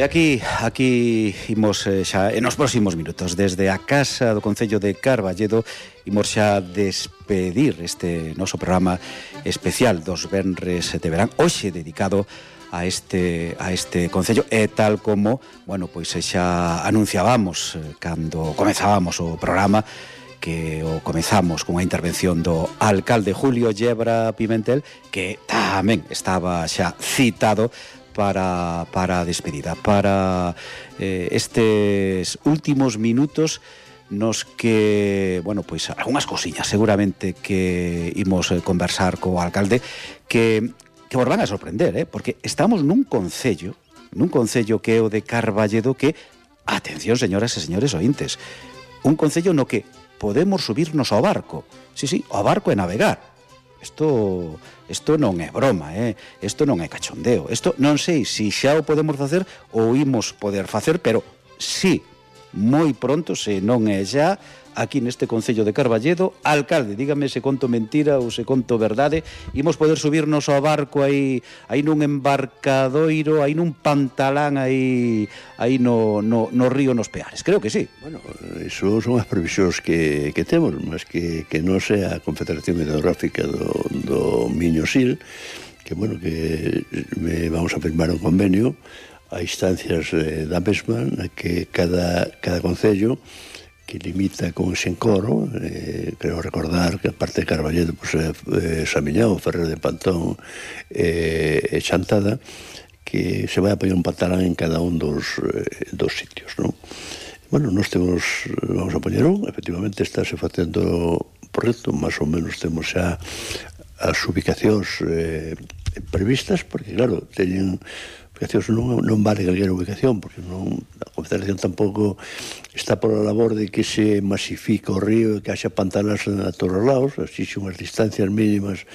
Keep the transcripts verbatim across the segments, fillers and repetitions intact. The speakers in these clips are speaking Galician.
E aquí, aquí imos eh, xa nos próximos minutos desde a Casa do Concello de Carballedo imos xa despedir este noso programa especial dos venres de verán, hoxe dedicado a este a este concello e tal como, bueno, pois xa anunciábamos eh, cando comezábamos o programa, que o comezamos con a intervención do alcalde Julio Yebra Pimentel, que tamén estaba xa citado para, para a despedida, para eh, estes últimos minutos nos que, bueno, pois algunhas cousiñas seguramente que imos conversar co alcalde que, que vos van a sorprender, eh? Porque estamos nun concello, nun concello que é o de Carballedo que, atención señoras e señores ointes, un concello no que podemos subirnos ao barco, sí, sí, ao barco e navegar. Isto, isto non é broma, eh? Isto non é cachondeo. Isto non sei se xa o podemos facer ou imos poder facer, pero sí, moi pronto, se non é xa, aquí neste concello de Carballedo. Alcalde, dígame se conto mentira ou se conto verdade, imos poder subirnos ao barco aí, aí nun embarcadoiro, aí nun pantalán aí, aí no, no, no río nos Peares. Creo que sí. Bueno, iso son as previsións que, que temos, mas que, que non sea a Confederación Hidrográfica do, do Miño Sil, que, bueno, que me vamos a firmar un convenio a instancias eh, da mesma, na que cada, cada concello que limita con Xencoro, eh, creo recordar que a parte de Carballedo, pues, eh, Samiñao, Ferrer de Pantón e eh, Chantada, que se vai a poñer un pantalán en cada un dos, eh, dos sitios, non? Bueno, nós temos, vamos a poñer un, efectivamente estáse facendo proxecto, máis ou menos temos xa as ubicacións eh, previstas, porque claro, teñen ubicacións, non, non vale calquera ubicación, porque non, a Confederación tampouco está por a labor de que se masifique o río e que haxa pantanas a todos os lados, exixe unhas distancias mínimas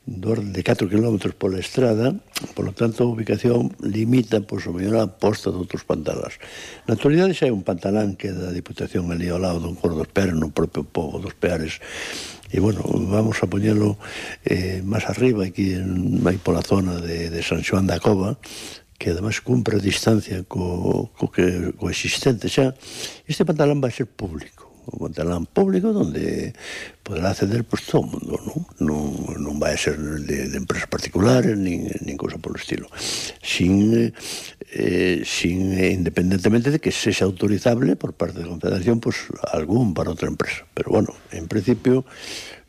do orden de catro kilómetros pola estrada, polo tanto a ubicación limita, pois, o mellor a posta de outros pantalas. Na actualidade xa hai un pantalán que é da Diputación ali ao lado do Encorro dos Peares, no propio pobo dos Peares, e, bueno, vamos a poñelo eh, máis arriba, aquí en, aí pola zona de, de San Xoán da Cova, que además cumpre a distancia co, co, que, co existente xa. Este pantalán vai ser público, un pantalán público donde poderá acceder pues, todo o mundo, non? Non, non vai ser de, de empresas particulares nin, nin cousa polo estilo, sin, eh, sin eh, independentemente de que sexa autorizable por parte da Confederación pues, algún para outra empresa, pero bueno, en principio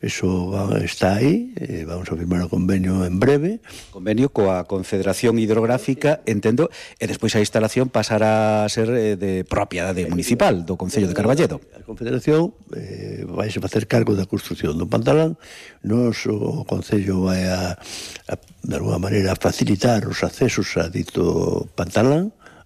eso va, está aí, eh, vamos a firmar o convenio en breve. Convenio coa Confederación Hidrográfica, entendo, e despois a instalación pasará a ser eh, de propiedade municipal do Concello de Carballedo. A Confederación eh, vai se facer cargo da construción do pantalán, nos o Concello vai a, a de alguma maneira a facilitar os accesos a dito pantalán,